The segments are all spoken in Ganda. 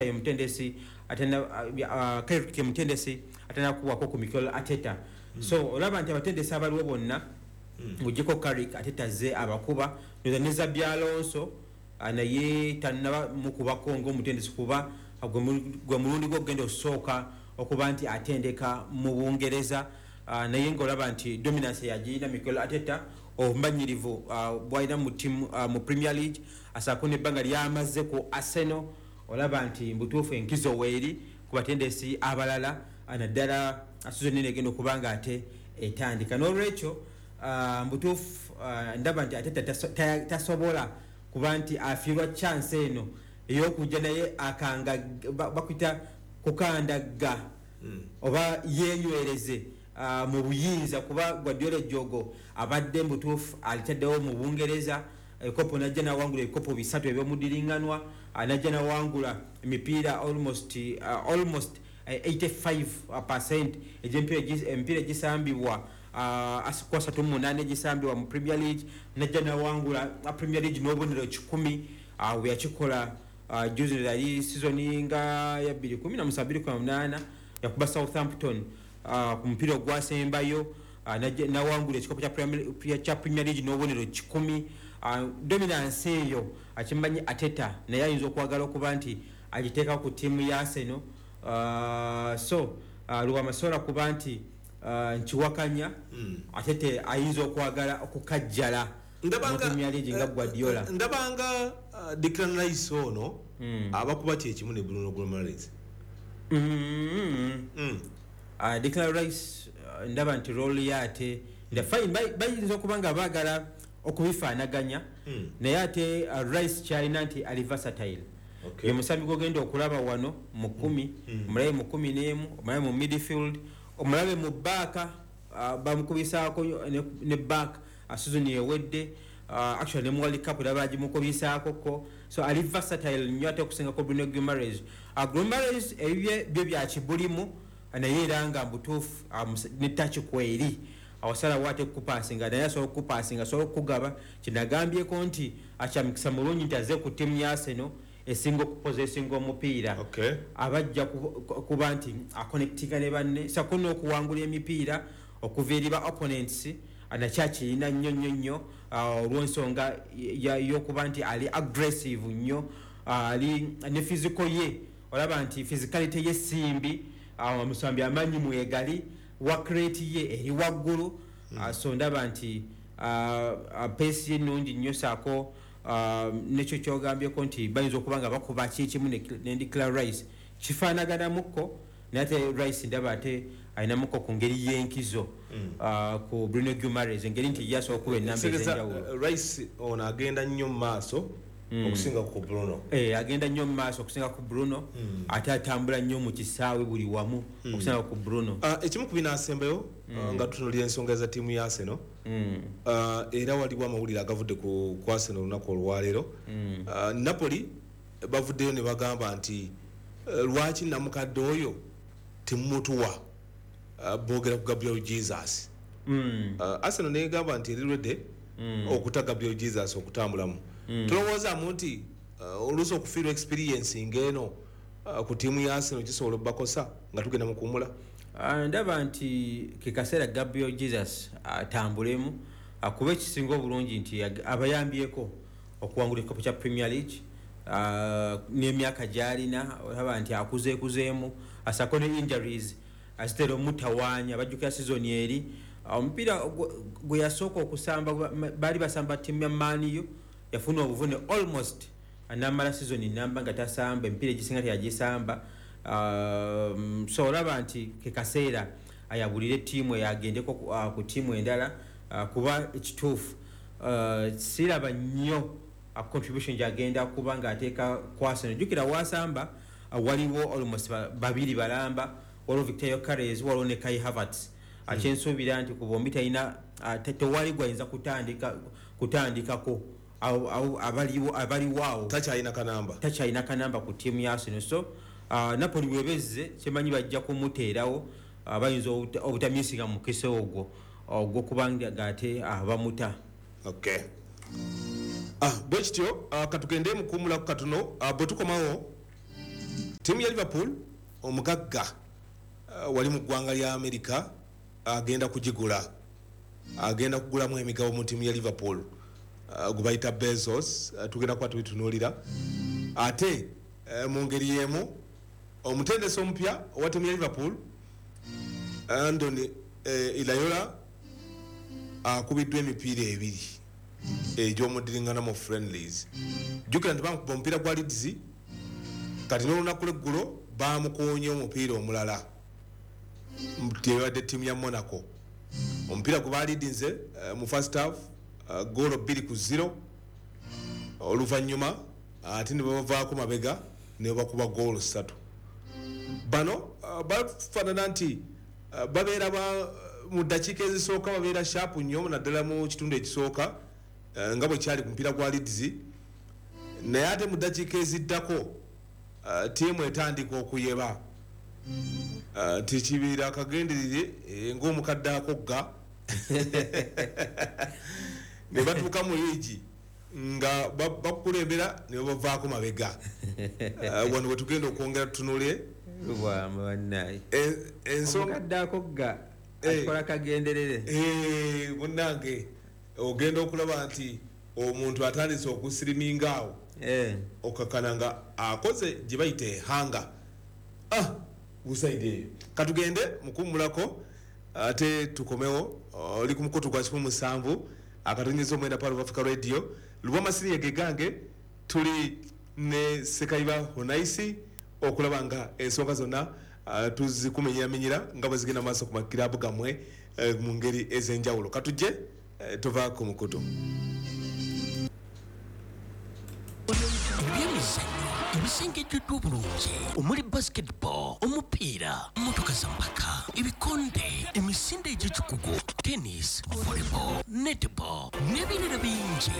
Ye mutendesi atena, Carrick ye mutendesi atanakubwako ku Mikel Arteta. So olaba nti abatendesi abaliwo bonna, ng'oggyeko Carrick, Arteta azze abakuba. Noza ne Xabi Alonso, naye tannaba mukubako ng'omutendesi, kuba gwe mulundi gwe ogenda osooka okuba nti atendeka mu Bungereza. Naye ng'olaba nti dominance yagirina Mikel Arteta, obumanyirivu bwalina mu team, mu Premier League, asaako nebbanga lyamaze ku Arsenal. Olaba nti mbutuufu enkizo weeri ku batendesi abalala, naddala season eno egenda okuba nga ate etandika. N'olwekyo mbutuufu ndaba nti ate tasobola kuba nti afiirwa chance eno ey'okujja naye akanga bakuyita kukandagga oba yenywereze mu buyinza, kuba Guardiola ejjogo abadde mbutuufu alitaddewo mu Bungereza. Ekopo najja nawangula ebikopo bisatu ebyomudiriŋŋanwa, najja nawangula emipiira almost 85% egy'emipiira egisambibwa, ku 38 egisambibwa mu Premier League, najja nawangula Premier League n'obubonero 100. Bwe yakikola juzi, yali season nga ya 2017 2018, yakuba Southampton ku mupiira ogwasembayo, nawangula ekikopo kya Premier League n'obubonero 100. Dominance eyo akimanyi Arteta, naye ayinza okwagala okuba nti agiteeka ku ttiimu ya Arsenal. So lwamasobola kuba nti nkiwakanya, Arteta ayinza okwagala okukajjala mu Premier League nga Guardiola. Ndabanga Declan Rice ono abakuba kyekimu ne Bruno Guimaraes. Declan Rice, ndaba nti role ye ate nda fine, bayinza okuba nga baagala okubifaanaganya, naye ate Rice kyalina nti ali versatile. Ye musambi gwogenda okulaba wano mu 10, omulabe mu 11, omulabe mu midfield, omulabe mu back, bamukubisaako ne back season ewedde, actually ne mu World Cup era bagimukubisaako ko. So ali versatile nnyo ate okusingako Bruno Guimaraes. Guimaraes ebibye byo bya kibulimu, naye era nga mbutuufu ne touch kweri awasalawo ate kupasinga, naye asobola okupasinga, asobola okukugaba. Kinagambyeko nti akyamikisa mulungi nti aze ku ttiimu ya Arsenal esinga okupossessinga omupiira, abajja kuba nti aconnectinga ne banne, sako n'okuwangula emipiira okuva eri ba opponents nakyakirina nnyo nnyo nnyo, olw'ensonga y'okuba nti ali aggressive nnyo, ali ne physical ye. Olaba nti physicality ye simbi, omusambi amaanyi mwegali, work rate ye eri waggulu. So ndaba nti pace ye nnungi nnyo, saako nekyo kyogambyeko nti bayinza okuba nga bakuba kikimu ne Declan Rice, kifaanaganamukko, naye ate Rice ndaba ate alinamuko ku ngeri y'enkizo ku Bruno Guimaraes, engeri nti ye asobola okuba enamba Kitegeeza, ez'enjawulo. Rice ono agenda nnyo mu maaso okusinga ku Bruno. Eh, agenda nnyo mu maaso okusinga ku Bruno, ate atambula nnyo mu kisaawe buli wamu okusinga ku Bruno. Ekimu ku binaasembayo, nga tutunulira ensonga za ttiimu ya Arsenal, era waliwo amawulire agavudde ku Arsenal olunaku olwaleero. Napoli bavuddeyo ne bagamba nti lwaki namukadde oyo temumutuwa? Boogera ku Gabriel Jesus. Arsenal negamba nti eri ready okuta Gabriel Jesus okutambulamu. Tulowoozaamu nti oluusi okufiirwa experience ng'eno ku ttiimu ya Arsenal kisobola obbakosa nga tugenda mu kuwumula? Ndaba nti ke kaseera Gabriel Jesus atambulemu, kuba ekisinga obulungi nti abayambyeko okuwangula ekikopo kya Premier League, n'emyaka gy'alina olaba nti akuzeekuzeemu, asako ne injuries azitera omutawaanya. Bajjukira season eri, omupiira gwe yasooka okusamba, baali basamba ttiimu ya Man U, yafuna obuvune almost namala season namba nga tasamba, emipiira egisinga teyagisamba. So olaba nti ke kaseera ayabulire ttiimu eyo, agendeko ku ttiimu endala, kuba ekituufu siraba nnyo contribution gyagenda kuba ng'ateeka ku Arsenal. Jjukira wasamba, waliwo almost babiri balamba, waliwo Viktor Gyokeres, waliwo ne Kai Havertz. Kyensuubira nti ku bombi talina, tewali gwayinza kutandikako abaliwo awo. Takyalina kanamba. Takyalina kanamba ku ttiimu ya Arsenal. So Napoli webezze, kyemanyi bajja kumuteerawo, bayinza obutamisinga mukisa ogwo ogwokubanga ate bamuta. Okay. Bwe kityo, katugende mukuwumulaku katono, bwe tukomawo. Ttiimu ya Liverpool, omugagga wali mu ggwanga lya America agenda kugigula, agenda kugulamu emigabo mu ttiimu ya Liverpool, gwe bayita Bezos. Tugenda kuba tubitunuulira. Ate mu ngeri y'emu, omutendesi omupya owa ttiimu ya Liverpool, Andoni Iraola, akubiddwa emipiira ebiri egy'omuddiringana mu friendlies. Jjukira nti bamukuba omupiira gwa Leeds, kati n'olunaku lw'eggulo bamukoonye omupiira omulala tebadde ttiimu ya Monaco. Omupiira gwe baalidinze mu first half goolo 2-0, oluvannyuma ate ne babavaako mabega ne bakuba goolo 3. Bano bafaanana nti babeera mu ddakiika ezisooka babeera sharp nnyo, naddala mu kitundu ekisooka, nga bwe kyali ku mupiira gwa Leeds, naye ate mu ddakiika eziddako ttiimu etandika okuyeba nti kibiira akagenderere ng'omukadde akogga, ne batuuka mu liigi nga bakukulembera ne babavaako mabega. Wano we tugenda okwongera tutunule. Lubwama bannaye. Ensonga omukadde akogga akola kagenderere. Munnange, ogenda okulaba nti omuntu atandise okusiriminga awo, okakana nga akoze gye bayita ehanga. Busaidi eyo katugende mukummulako ate tukomewo. Oli ku mukutu gwa 107.9 Pearl of Africa Radio. Lubwama Senior gegange, tuli ne Sekayiba Honaisi okulaba nga ensonga zonna tuzikumenyeramenyera nga bwe zigenda maaso ku makirabu gammwe mu ngeri ez'enjawulo. Katujje tuva ku mukutu. Ebyemizannyo ebisengejjeddwa obulungi omuli basketball, omupiira, mmotoka za mpaka, ebikonde, emisinde egy'ekikugu, tennis, volleyball, netball n'ebirala bingi.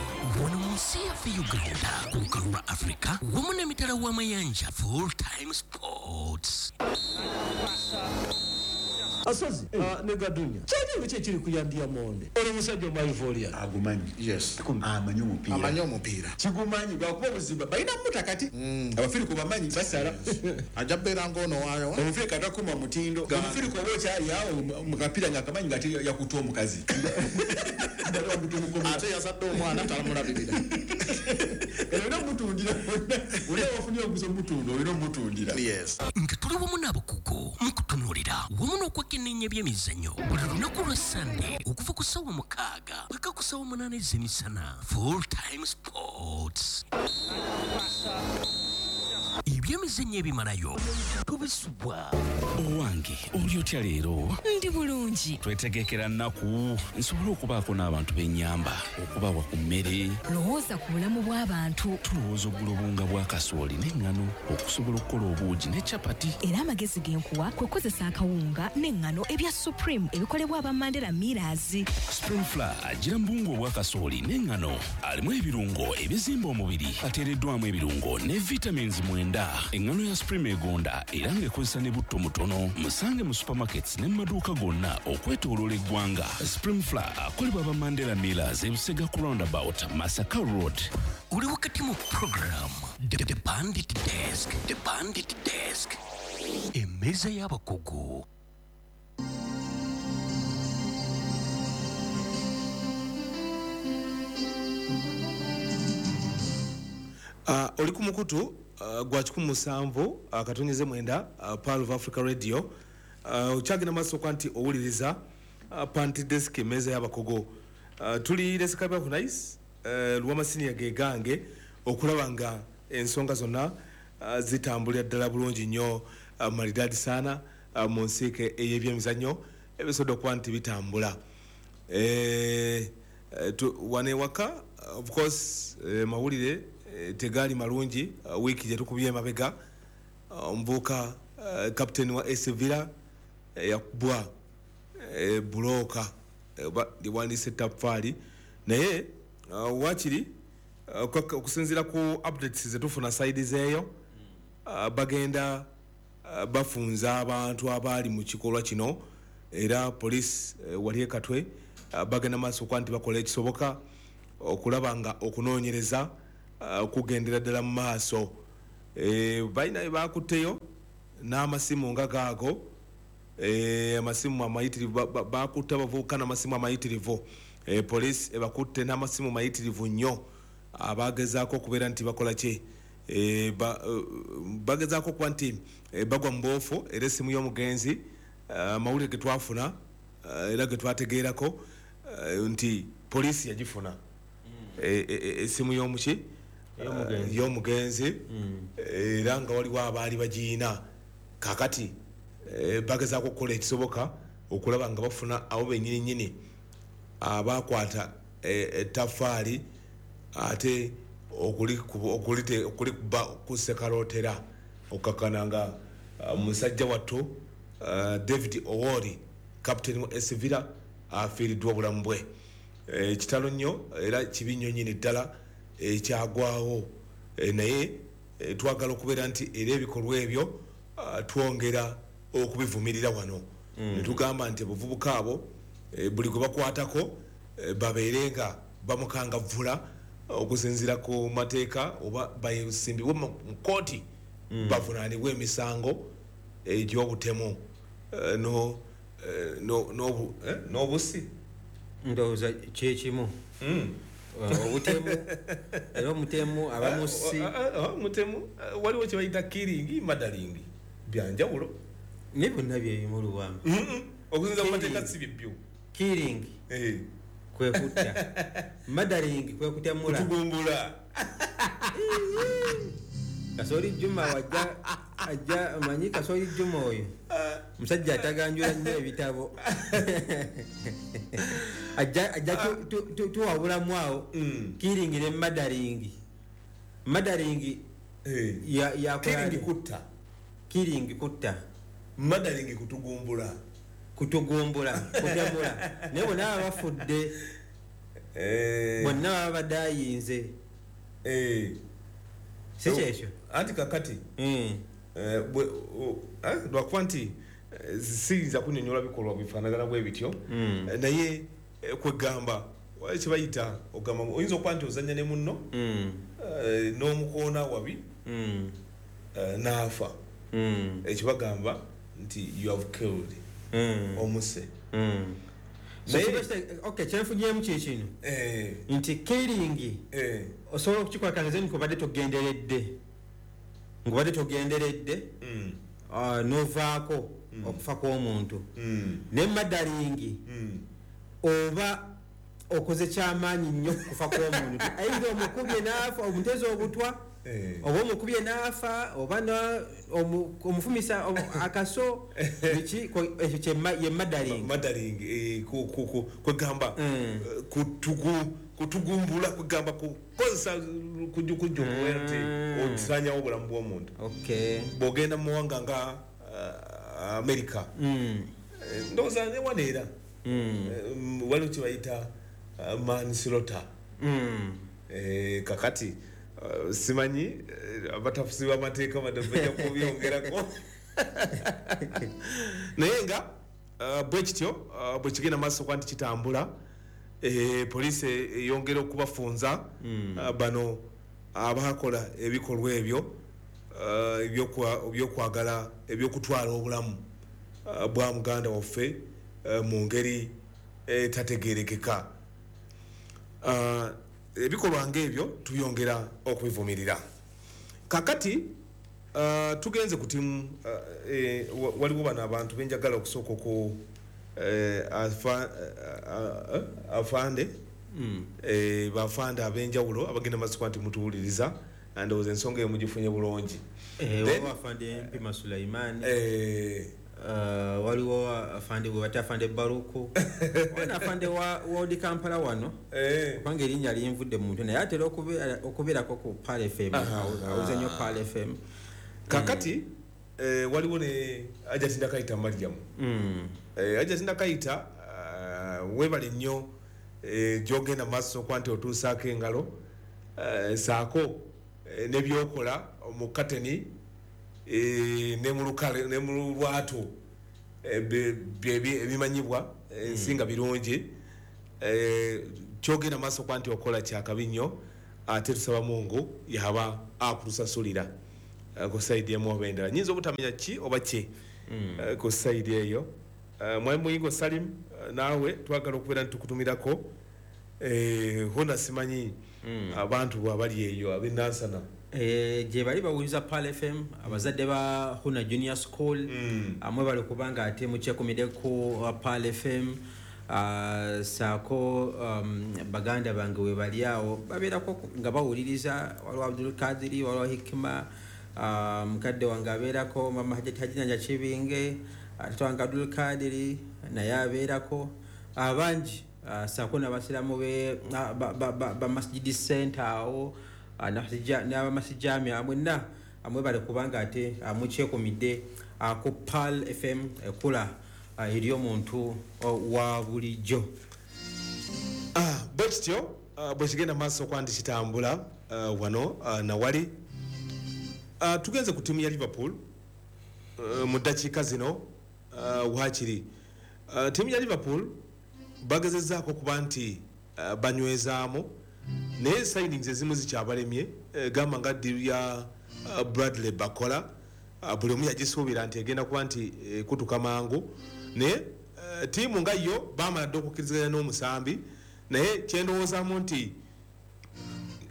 Wano mu nsi yaffe Uganda, ku lukalu lwa Africa wamu n'emitala w'amayanja. Full Time Sports. Asozi ne Gadunya, kyali ki ekiri ku Yandia Monde? Oli musajja omwaivoria. Agumanyi. Yes. Amanyi omupiira. Amanyi omupiira. Kigumanyi lwakuba obuzibu balina muta kati. Abafirika bamanyi basala. Ajja kubeera ng'ono waayo. Omufirika takuma mutindo. Omufirika oba okyali awo mu kapiira ng'akamanyi nga ate yakutta omukazi. Ate yazadde omwana talamulabirira. Olina omutundira. Olina wafunye omuguzi omutunda, olina omutundira. Yes. Nga tuli wamu n'abakugu mu kutunuulira wamu n'okwekenneenya ebyemizannyo buli lunaku lwa Sande okuva ku ssaawa 6 paka ku ssaawa 8 ez'emisana. Full Time Sports. Ebyemizannyo ebimalayo tubisubwa. Owange, oli otya leero? Ndi bulungi. Twetegekera nnaku nsobole okubaako n'abantu b'ennyamba, okubawa ku mmere. Lowooza ku bulamu bw'abantu. Tulowooza okugula obuwunga bwa kasooli n'eŋŋano okusobola okukola obuugi ne capati. Era amagezi ge nkuwa kwe kukozesa akawunga n'eŋŋano ebya Supreme ebikolebwa aba Mandela Millers. Supreme Flour agira mu buwunga obwa kasooli n'eŋŋano, alimu ebirungo ebizimba omubiri, ateereddwamu ebirungo ne vitamins 9. Eŋŋano ya Supreme egonda era ng'ekozesa ne butto mutono. Musange mu supermarkets ne mu maduuka gonna okwetooloola eggwanga. Supreme Flour akolebwa aba Mandela Millers, Ebusega ku roundabout, Masaka Road. Oli wakati mu program The Bandit Desk, The Bandit Desk, emmeeza y'abakugu. Oli ku mukutu gwa 107.9 Pearl of Africa Radio. Okyagenda maaso okuba nti owuliriza Panty Desk, emmeeza y'abakugu. Tuli ne Sekayiba Hunais, Lubwama Senior gegange okulaba nga ensonga zonna zitambulira ddala bulungi nnyo, maridadi sana, mu nsiike ey'ebyemizannyo ebisobodde okuba nti bitambula. Wano ewaka, of course, mawulire tegaali malungi. Wiiki gye tukubye emabega, omuvubuka captain wa AS Villa yakubwa bulooka oba liwandiise ettaffaali, naye waakiri okusinziira ku updates zetufuna side zeeyo, bagenda bafunza abantu abaali mu kikolwa kino, era police wali e Katwe bagenda maaso okuba nti bakola ekisoboka okulaba nga okunoonyereza kugendera ddala mu maaso. Balina bakutteyo n'amasimu nga gaago, amasimu amayitirivu, bakutte abavubuka n'amasimu amayitirivu. Poliisi ebakutte n'amasimu mayitirivu nnyo, abagezaako okubeera nti bakola ki, bagezaako okuba nti bagwa mu boofu. Era essimu y'omugenzi, amawulire ge twafuna era ge twategeerako nti poliisi yagifuna essimu y'omuki, y'omugenzi, era nga waliwo abaali bagiyina. Kakati bagezaako okukola ekisoboka okulaba nga bafuna abo bennyini nnyini abakwata ettaffaali ate okulikuba ku ssekalootera, okukkakkana nga musajja wattu David Owori, kapiteeni wa SC Villa, afiiriddwa obulamu bwe. Kitalo nnyo era kibi nnyo nnyini ddala ekyagwawo, naye twagala okubeera nti era ebikolwa ebyo twongera okubivumirira wano, ne tugamba nti abavubuka abo buli gwe bakwatako babeere nga bamukangavvula okusinziira ku mateeka, oba basimbibwe mu kkooti bavunaanibwe emisango egy'obutemu n'obusi. Ndowooza kyekimu, obutemu era omutemu abamusi. Mutemu waliwo kye bayita killing, murdering, byanjawulo. Naye byonna byebimu Lubwama. Okusinziira ku mateeka si byebyo. Killing kwe kutta, murdering kwe kutemula, kutugumbula. Kasoli Juma wajja ajja, omanyi Kasoli Juma oyo musajja ataganjula nnyo ebitabo, ajja tuwabulamu awo killing ne murdering. Murdering killing kutta, killing kutta, murdering kutugumbula, kutugumbula, kutemula. Naye bonna baba bafudde, bonna baba badayinze, si kyekyo? Anti kakati lwakuba nti siyinza kunyonyola bikolwa bifaanagana bwe bityo, naye kwegamba kyebayita ogamba oyinza okuba nti ozannya ne munno n'omukoona wabi n'afa, ekibagamba nti you have killed, omuse. Okay, kyenfunyemu kikino nti killing osobola okukikola kanze nkubadde togenderedde, ngubadde togenderedde novaako okufa kw'omuntu. Ne murdering oba okoze kyamaanyi nnyo kufa kw'omuntu, either omukubye n'afa, omuteze obutwa, oba omukubye n'afa, oba omufumisa akaso, biki, ekyo ye murdering. Murdering kwegamba kutugumbula, kwegamba kukozesa kujjukujju okubeera nti osaanyawo obulamu bw'omuntu. Bw'ogenda mu mawanga nga Amerika, ndowooza ne wano era waliwo kye bayita manslaughter. Kakati simanyi abatafuzi b'amateeka bajja kubyongerako, naye nga bwe kityo bwe kigenda maaso kuba nti kitambula, poliisi eyongera okubafunza bano abakola ebikolwa ebyo ebyokwagala ebyokutwala obulamu bwa muganda waffe mu ngeri etategeerekeka. Ebikolwa ng'ebyo tubyongera okubivumirira. Kakati tugenze ku timu, waliwo bano abantu benjagala okusooka ku afande, bafande ab'enjawulo abagenda maaso nti mutuwuliriza, ndowooza ensonga eyo mugifunye bulungi. Waliwo afande Mpima Sulaiman, waliwo afande gwe bata afande Baruku, wana afande wa World Kampala wano, kubanga erinnya linvudde mu mutwe, naye atera okubeerako ku Pearl FM, awuze nnyo Pearl FM. Kakati waliwo ne Hajati Ndakayita Mariam. Hajati Ndakayita, weebale nnyo gy'ogenda maaso okuba nti otuusaako engalo, saako n'ebyokola mu kateni ne mu lukale ne mu lwatu, ebimanyibwa ensi nga birungi. Kyogenda maaso okuba nti okola kyakabi nnyo, ate tusaba Mungu yaba akutusasulira. Ku side emu oba endala nyinza obutamanya ki oba ki ku side eyo. Mwami Muyingo Salim, naawe twagala okubeera nitukutumirako. Hona simanyi abantu bwabali eyo ab'enansana. Gye bali bawuliza Pearl FM, abazadde ba Huna Junior School, amwe bali kubanga ate mukyekumidde ku Pearl FM. Saako baganda bange we bali awo babeerako nga bawuliriza, waliwo Abdul Kadiri, waliwo Hikima, mukadde wange abeerako, mama Hajati Hajinanja Kibinge, tata wange Abdul Kadiri naye abeerako, abangi, saako n'abasiraamu be ba Masjidi Center awo, n'abamasijamia mwenna amwebale kubanga ate mukyekumidde ku Pearl FM ekula eri omuntu wa bulijjo. Bwe kityo bwe kigenda maaso okuba nti kitambula wano nawali. Tugenze ku ttiimu ya Liverpool mu ddakiika zino waakiri. Ttiimu ya Liverpool bagezezzaako okuba nti banywezaamu, naye signings ezimu zikyabalemye, gamba nga deal ya Bradley Barcola, buli omu yagisuubira nti egenda kuba nti kutuka mangu, naye ttiimu nga yo baamala dda okukkiriziganya n'omusambi, naye kyendowoozaamu nti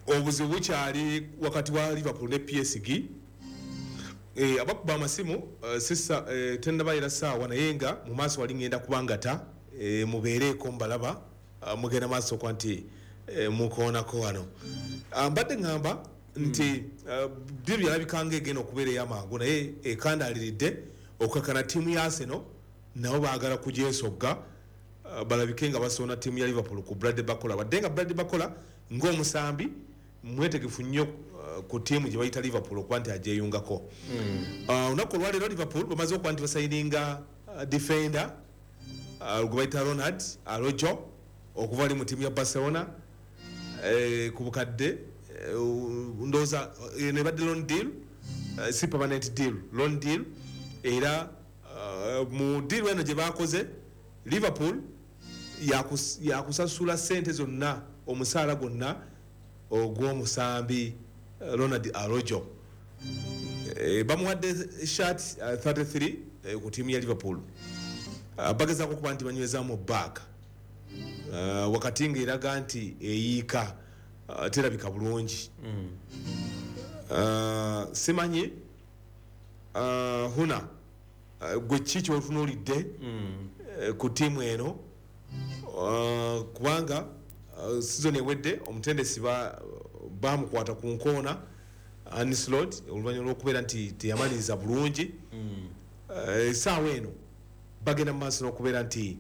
obuzibu bukyali wakati wa Liverpool ne PSG. Abakuba amasimu sisa tennabayira ssaawa, naye nga mu maaso wali ngenda kubangata, mubeereeko mbalaba, mugenda maaso okuba nti mukoonako wano. Mbadde ŋŋamba nti deal yalabika nga egenda okubeera ey'amangu, naye ekandaaliridde okukakana ttiimu ya Arsenal nabo baagala kugyesogga, balabike nga basonda ttiimu ya Liverpool ku Bradley Barcola, wadde nga Bradley Barcola ng'omusambi mwetegefu nnyo ku ttiimu gye bayita Liverpool okuba nti agyeyungako. Olunaku olwaleero Liverpool bamaze okuba nti basayininga defender gwe bayita Ronald Araujo okuva ali mu ttiimu ya Barcelona ku bukadde ndowooza eno ebadde loan deal, si permanent deal, loan deal. Era mu deal eno gye bakoze, Liverpool yakusasula ssente zonna, omusaala gwonna ogw'omusambi Ronald Araujo. Bamuwadde shirt 33 ku ttiimu ya Liverpool. Bagezaako okuba nti banywezaamu back wakati ng'eraga nti eyiika, terabika bulungi. Simanyi Huna, gwe ki kyotunuulidde ku ttiimu eno, kubanga season ewedde omutendesi bamukwata ku nkoona Arne Slot oluvannyuma lw'okubeera nti teyamaliriza bulungi. Essaawa eno bagenda mu maaso n'okubeera nti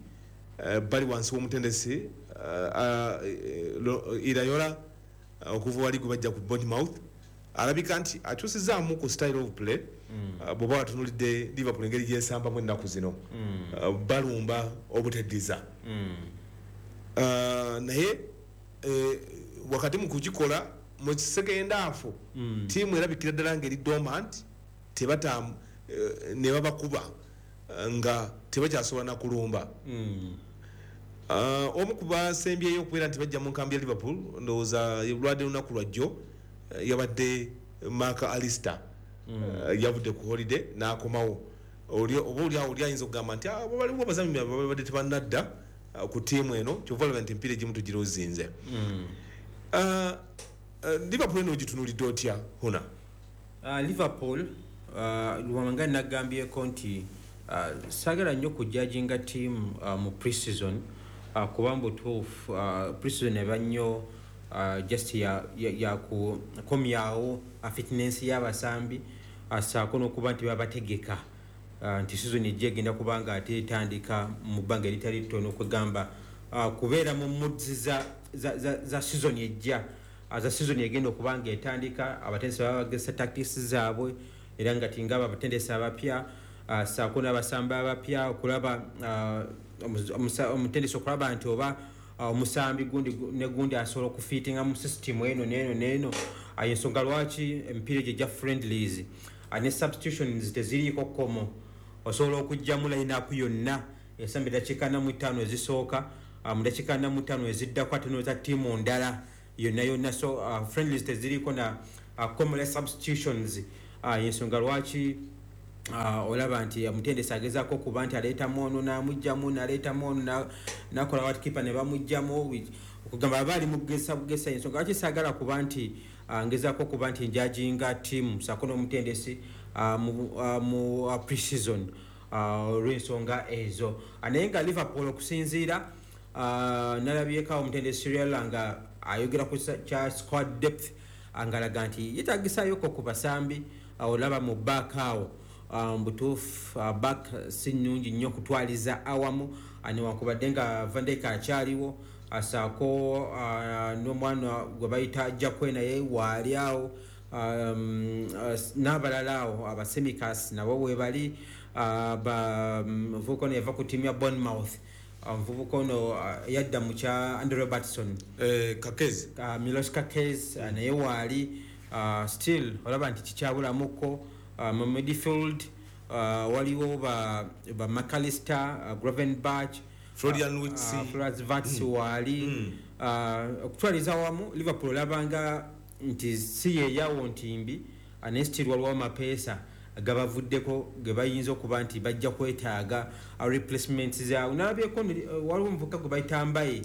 bali wansi w'omutendesi Iraola okuva wali gwe bajja ku Bournemouth, alabika nti akyusizaamu ku style of play. Bw'oba watunuulidde Liverpool engeri gyesambamu ennaku zino, balumba obuteddiza, naye wakati mu kugikola mu second half ttiimu erabikira ddala ng'eri dormant, tebata ne babakuba nga tebakyasobola na kulumba. Omu ku basembyeyo okubeera nti bajja mu nkambi ya Liverpool, ndowooza lwadde lunaku lwajjo, yabadde Mark Alister. Yavudde ku holiday n'akomawo. Oba oli awo oli ayinza okugamba nti waliwo abazannyi babadde tebannadda ku ttiimu eno, kyova olaba nti emipiira egimu tugirozinze. Liverpool eno ogitunuulidde otya, Huna? Liverpool, lwanga nagambyeko nti saagala nnyo kujudginga ttiimu mu pre-season, kuba mu butuufu pre-season eba nnyo just ya kukomyawo fitness y'abasambi, saako n'okuba nti babategeka nti season ejja egenda kuba nga ate etandika mu bbanga eritali ttono, kwegamba kubeera mu moods za season ejja, za season egenda okuba nga etandika. Abatendesi baba bagezesa tactics zaabwe, era nga tinga abatendesi abapya, saako n'abasambi abapya, okulaba omutendesi okulaba nti oba omusambi gundi ne gundi asobola okufiitinga mu system eno n'eno n'eno. Ensonga lwaki emipiira egyo egya friendlies ne substitutions teziriiko kkomo, osobola okuggyamu line-up yonna esamba eddakiika 45 ezisooka, mu ddakiika 45 eziddako ate noza ttiimu ndala yonna yonna. So friendlies teziriiko na kkomo lya substitutions. Ensonga lwaki olaba nti omutendesi agezaako okuba nti aleetamu ono n'amugjamu, n'aleetamu ono nakola watkipa ne bamugjamu, okugamba aba ali mu kugesa bugesa. Ensonga lwaki saagala kuba nti ngezaako okuba nti njajinga ttiimu saako n'omutendesi mu pre-season olw'ensonga ezo. Naye nga Liverpool okusinziira nalabyeko omutendesi Iraola nga ayogera ku kya squad depth, ngalaga nti yetagisayoko ku basambi. Olaba mu back awo, mubutuufu back si nnungi nnyo okutwaliza awamu, newankubadde nga Van Dijk akyaliwo, asaako n'omwana gwe bayita Jakwe naye waali awo, n'abalala awo aba Tsimikas nabo webali, muvubuka ono yava ku ttiimu ya Bournemouth, omuvubuka ono yadda mu kya Andy Robertson. Kerkez. Milos Kerkez naye waali. Still olaba nti kikyabulamuko. Mu midfield waliwo ba McAllister, Gravenberch, Florian Wirtz. Florian Wirtz waali. Okutwaliza wamu Liverpool olabanga nti si yeyawo nti mbi, naye still waliwo amapeesa gabavuddeko ge bayinza okuba nti bajja kwetaaga replacements zaabwe. Nalabyeko waliwo omuvubuka gwe bayita Mbaye,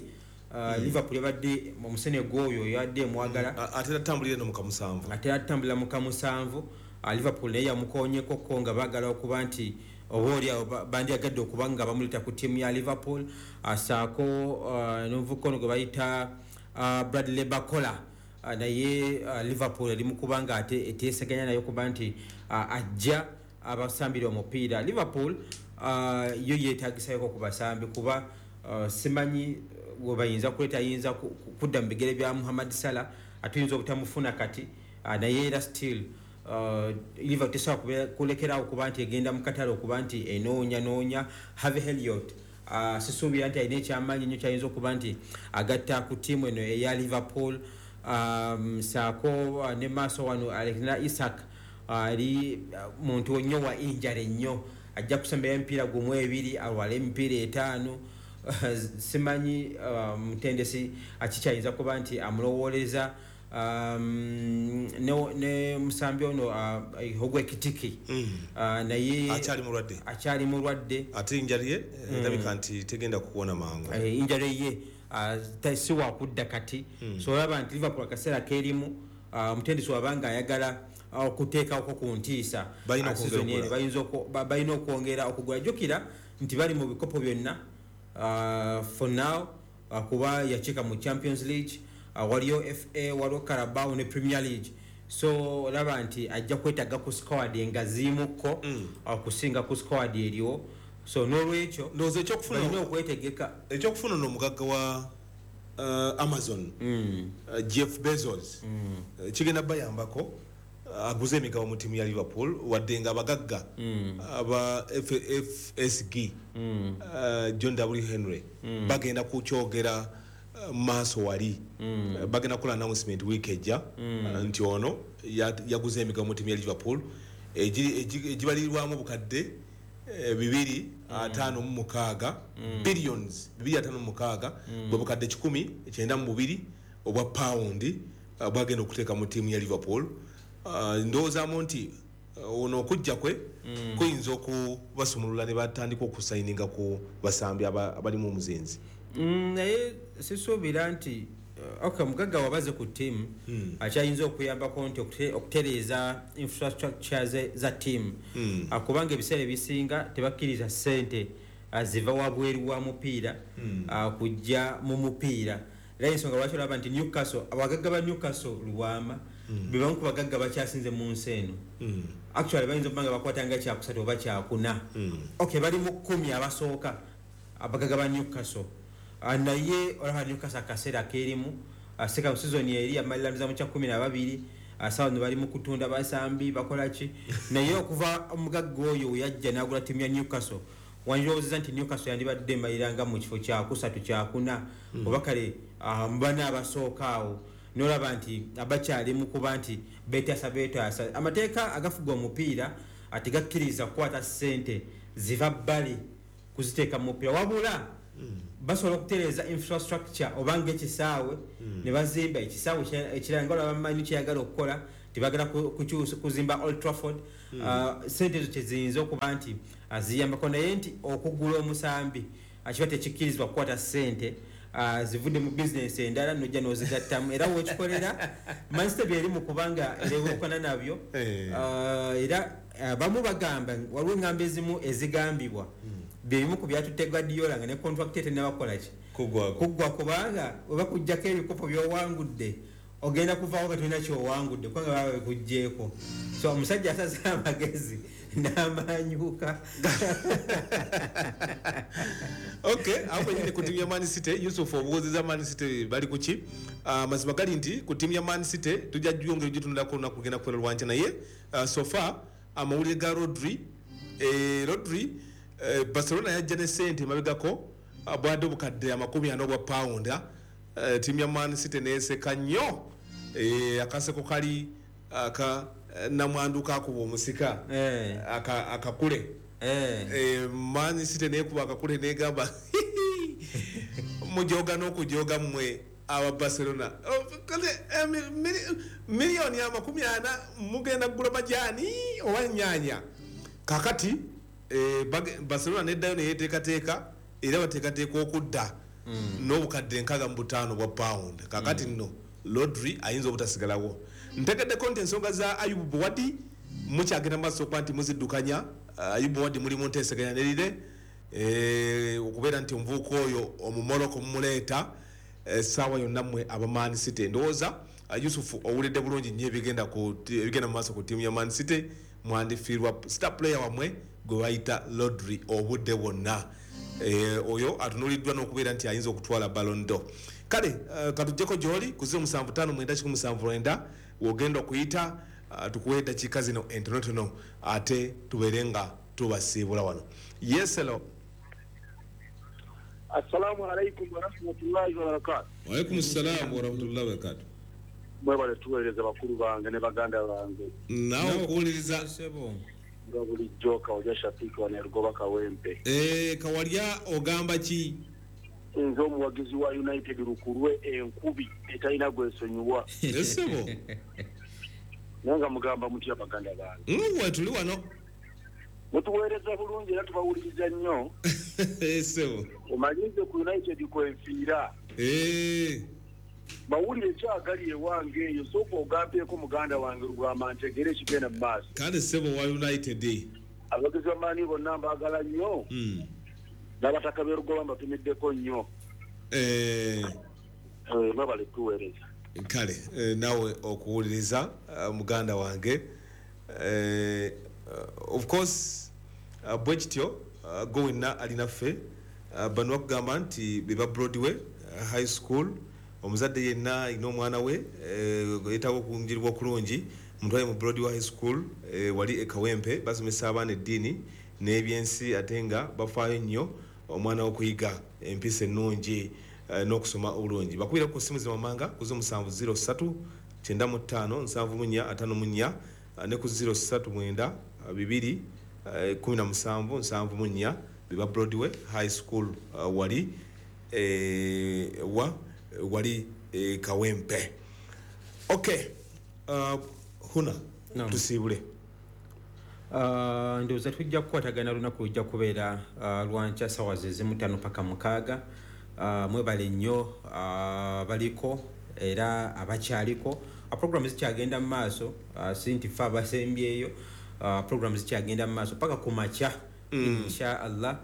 Liverpool yabadde omusenego oyo yabadde emwagala. Ate atambulira no mu kamusanvu. Ate atambulira mu kamusanvu. Liverpool naye yamukonyekoko nga baagala okuba nti oba oli awo bandyagadde okuba nga bamuleeta ku ttiimu ya Liverpool, asaako n'omuvubuka ono gwe bayita Bradley Barcola, naye Liverpool eri mu kuba nga ate eteeseganya naye okuba nti ajja abasambira omupiira. Liverpool yo yeetagisayoko ku basambi kuba simanyi we bayinza kuleeta ayinza kudda mu bigere bya Muhammad Salah, atuyinza obutamufuna kati, naye era still Liverpool tesobola kulekerawo kuba nti egenda mu katale okuba nti enoonya noonya Harvey Elliott. Sisuubira nti alina ekyamaanyi nnyo kyayinza okuba nti agatta ku ttiimu eno eya Liverpool. Saako ne maaso wano Alexander Isak ali muntu nnyo wa injury nnyo, ajja kusembera emipiira gumu ebiri alwala emipiira etaano. Simanyi mutendesi akikyayinza kuba nti amulowooleza. Ne musambi ono Hugo Ekitike naye akyali mulwadde. Akyali mulwadde. Ate injury ye erabika nti tegenda kuwona mangu. Injury ye si wakudda kati. So olaba nti Liverpool akaseera kerimu, omutendesi wabanga ayagala okuteekako ku ntiisa Balina season okwongera eno okugula. Balina okwongera okugula. Jjukira nti bali mu bikopo byonna for now, kuba yakiika mu Champions League, waliyo FA, waliwo Carabao ne Premier League. So olaba nti ajja kwetaaga ku squad engaziimukko okusinga ku squad eriwo. So n'olwekyo ndowooza ekyokufuna balina okwetegeka. Ekyokufuna ono omugagga wa Amazon, Jeff Bezos, kigenda bayambako, aguze emigabo mu ttiimu ya Liverpool, wadde nga abagagga aba FSG, John W Henry, bagenda kukyogera maaso wali. Bagenda kukola announcement week ejja, nti ono yaguze emigabo mu ttiimu ya Liverpool egibalirwamu obukadde 256 billions, 256, bwe bukadde 192 obwa pawundi bwagenda okuteeka mu ttiimu ya Liverpool. Ndowoozaamu nti ono okujja kwe kuyinza okubasumulula ne batandika okusayininga ku basambi abalimu omuzinzi. Naye sisuubira nti okay, mugagga wabaze ku ttiimu akyayinza okuyambako nti okutereeza infrastructure za ttiimu, kubanga ebiseera ebisinga tebakkiriza ssente ziva wabweru wa mupiira kujja mu mupiira. Era ensonga lwaki olaba nti Newcastle, abagagga ba Newcastle Lubwama be bamu ku bagagga bakyasinze mu nsi eno. Actually bayinza okuba nga bakwata nga kyakusatu oba kyakuna. Okay, bali mu 10 abasooka abagagga ba Newcastle. Naye olaba Newcastle akaseera kerimu, second season eri yamaliriza mu kya 12, sawa no bali mu kutunda basambi bakola ki, naye okuva omugagga oyo we yajja n'agula ttiimu ya Newcastle, wandirowoozezza nti Newcastle yandibadde emalira nga mu kifo kyakusatu kyakuna oba kale mu bana abasooka awo. N'olaba nti abakyali mu kuba nti beetaasa beetaasa. Amateeka agafuga omupiira tegakkiriza kukwata ssente ziva bbali kuziteeka mu mupiira, wabula basobola okutereeza infrastructure oba ng'ekisaawe ne bazimba ekisaawe ekirala nga olaba Man U kyeyagala okukola. Tibagala kukyusa kuzimba Old Trafford. Sente ezo kyeziyinza okuba nti ziyambako, naye nti okugula omusambi kiba tekikkirizibwa kukwata sente zivudde mu bizinesi endala nojja n'ozigattamu, era wekikolera Manchester byeri mu kubanga erewukana nabyo. Era abamu bagamba waliwo eŋŋambo ezimu ezigambibwa byebimu ku byatutte Guardiola nga ne contract tennabakola ki kuggwa, kubanga oba kujjako ebikopo by'owangudde ogenda kuvaawo nga tolina kyowangudde kubanga baba bekuggyeeko. So omusajja asaze amagezi n'amanyuka. Okay, awo kwenyini ku ttiimu ya Man City, Yusuf obuuziza Man City bali ku ki? Amazima gali nti ku ttiimu ya Man City tujja gyongera ogitunulako olunaku lugenda kubeera lwankya, naye so far amawulire ga Rodri, Barcelona yajja ne ssente emabegako bwadde obukadde 40 obwa pawunda. Ttiimu ya Man City neeseka nnyo, akaseko kali aka namwandu kakuba omusika akakule. Man City neekuba akakule negamba mujoga n'okujoga mmwe aba Barcelona. Miliyoni 40 mugenda kugula majaani oba nnyaanya. Kakati Barcelona neddayo neyeteekateeka, era bateekateeka okudda n'obukadde 65 bwa pawundi. Kakati nno Rodri ayinza obutasigalawo. Ntegeddeko nti ensonga za Ayubu Bouadi mukyagenda maaso okuba nti muziddukanya. Ayubu Bouadi mulimu nteeseganya nerire okubeera nti omuvubuka oyo Omumoroko mumuleeta essaawa yonna mmwe aba Man City. Ndowooza Yusufu owulidde bulungi nnyo ebigenda mu maaso ku ttiimu ya Man City. Mwandifiirwa star player wammwe gwe bayita Rodri obudde bwonna. Oyo atunuuliddwa n'okubeera nti ayinza okutwala Ballon d'Or. Kale katujjeko gy'oli ku 07591779 wogenda okuyita, tukuwe eddakiika zino entonotono ate tubeere nga tubasiibula wano. Yes, hello. Assalamu alaikum warahmatullahi wabarakatuh. Wa alaikum assalam warahmatullahi wabarakatuh. Mwebale tuweereza bakulu bange ne baganda bange. Naawe okuwuliriza nga bulijjo Kawalya Shafiki wa Nerugoba Kawempe. Kawalya ogamba ki? Nze omuwagizi wa United Lukulwe enkubi etalina gwesonyiwa. Essebo. Naye nga mugamba mutya baganda bange? Mwe tuli wano. Mutuweereza bulungi era tubawuliriza nnyo. Essebo. Omanyize ku United kwenfiira. Mawulire kyagali ewange eyo, sooka ogambyeko muganda wange Lugwama ntegere ekigenda mu maaso. Kale ssebo wa United. Abagizi b'amaanyi bonna mbaagala nnyo. N'abataka b'e Lugoba mbatumiddeko nnyo. Mwebale tuweereza. Kale naawe okuwuliriza muganda wange. Of course bwe kityo gwe wenna alinaffe bano bakugamba nti be ba Broadway High School. Omuzadde yenna alina omwana we yeetaaga okunjiribwa okulungi mutwale mu Broadway High School wali e Kawempe. Basomesa abaana eddiini n'ebyensi ate nga bafaayo nnyo omwana okuyiga empisa ennungi n'okusoma obulungi. Bakubira ku ssimu zino ku 0703 95 74 54 ne ku 039 2 17 74 beba Broadway High School wali wali Kawempe. Okay, Huna tusiibule. Ndowooza tujja kukwatagana lunaku lujja kubeera lwankya ssaawa ze zimu 5 paka 6. Mwebale nnyo baliko era abakyaliko. Programu zikyagenda mu maaso, si nti ffe abasembyeyo. Programu zikyagenda mu maaso paka ku makya insha Allah.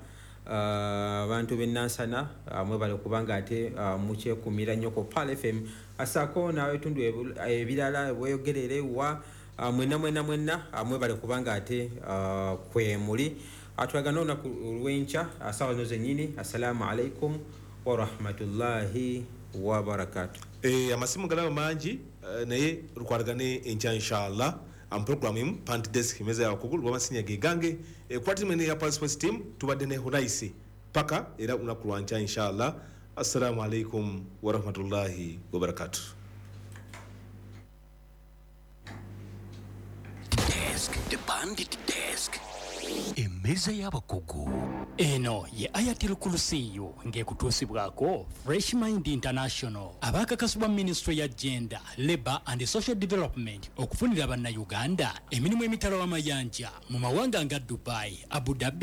Abantu b'e Nansana mwebale kubanga ate mukyekumira nnyo ku Pearl FM asaako n'ebitundu ebirala bweyogerere wa mwenna mwenna mwenna mwebale kubanga ate kwe muli. Atulagana olunaku lw'enkya ssaawa zino zennyini. Assalamu alaikum warahmatullahi wabarakatuh. Amasimu galaba mangi naye lukwatagane enkya inshallah. Program imu Pant Desk meza ya wakugulu wamasinya gegange kwa timu ya Pearl Sports Team tubadde ne Hunaisi paka era unaku lwankya inshallah. Assalamu alaikum warahmatullahi wabarakatuh. Desk, the Bandit Desk. Mmeeza y'abakugu. Eno ye Ayatil Kulusiyu ng'ekutuusibwako Fresh Mind International, abaakakasibwa Minisitule ya Gender, Labour and Social Development okufunira Bannayuganda emirimu emitala w'amayanja mu mawanga nga Dubai, Abu Dhabi.